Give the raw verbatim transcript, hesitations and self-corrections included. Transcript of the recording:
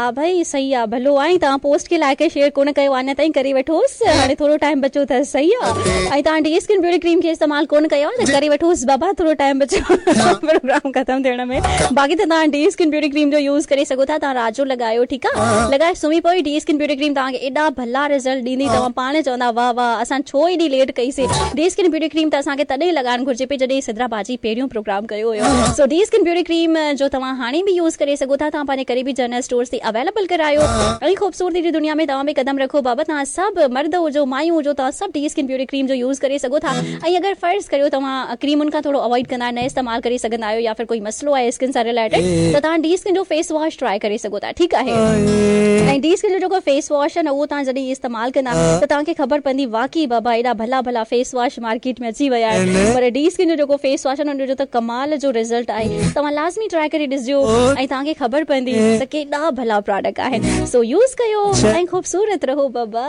آ بھائی، صحیح آ، ڀلو آئیں، توهان پوسٽ کي لائڪ ۽ شيئر ڪونه ڪيو آهي، نه تائين ڪري وٺوس، هاڻي ٿورو ٽائيم بچو اٿس، صحيح آ. ۽ توهان ڊي اسڪن بيوٽي ڪريم کي استعمال ڪونه ڪيو آهي، ته ڪري وٺوس بابا، ٿورو ٽائيم بچو پروگرام ختم ٿيڻ ۾. باقي ته توهان ڊي اسڪن بيوٽي ڪريم جو يوز ڪري سگهو ٿا، توهان رات جو لڳايو، ٺيڪ آ، لڳائي سمهي پوئي، ڊي اسڪن بيوٽي ڪريم توهان کي ايڏا ڀلا رزلٽ ڏيندي، توهان پاڻ چوندا، "واہ واہ، اسان ڇو ايڏي ليٽ ڪئي سي؟" ڊي اسڪن بيوٽي ڪريم ته اسان کي تڏهن لڳائڻ گهرجي پئي، جڏهن سدرا باجي پهريون پروگرام ڪيو هيو. سو ڊي اسڪن بيوٽي ڪريم جو توهان هاڻي به يوز ڪري سگهو ٿا، توهان پنهنجي قريبي جنرل اسٽورز تي اويليبل ڪرايو. ۽ خوبصورتي جي دنيا ۾ توهان به قدم رکو بابا، توهان سڀ مرد هجو، مايون هجو، توهان سڀ ڊي اسڪن بيوٽي ڪريم جو يوز ڪري سگهو ٿا. ۽ اگر فرض ڪريو توهان ڪريمن کان ٿورو اوائڊ ڪندا، نه استعمال ڪري سگهندا آهيو، يا فر ڪوئي مسئلو آهي اسڪن سان ريليٽيڊ، ته توهان ڊي اسڪن جو فيس واش ٽرائي ڪري سگهو ٿا، ٺيڪ آهي. ۽ ڊي اسڪن جو جيڪو فيس واش آهي نه، اهو توهان جڏهن استعمال ڪندا، ته توهان کي خبر پوندي واقعي بابا ايڏا ڀلا ڀلا فيس واش مارڪيٽ ۾ اچي ويا آهن. پر ڊي اسڪن جو جيڪو فيس واش آهي نه، ان جو ته ڪمال جو رزلٽ آهي. توهان لازمي ٽرائي ڪري ڏسجو، ۽ توهان کي خبر پوندي ته ڪيڏا ڀلا پروڊڪٽ آهن. سو يوز ڪيو ۽ خوبصورت رهو بابا.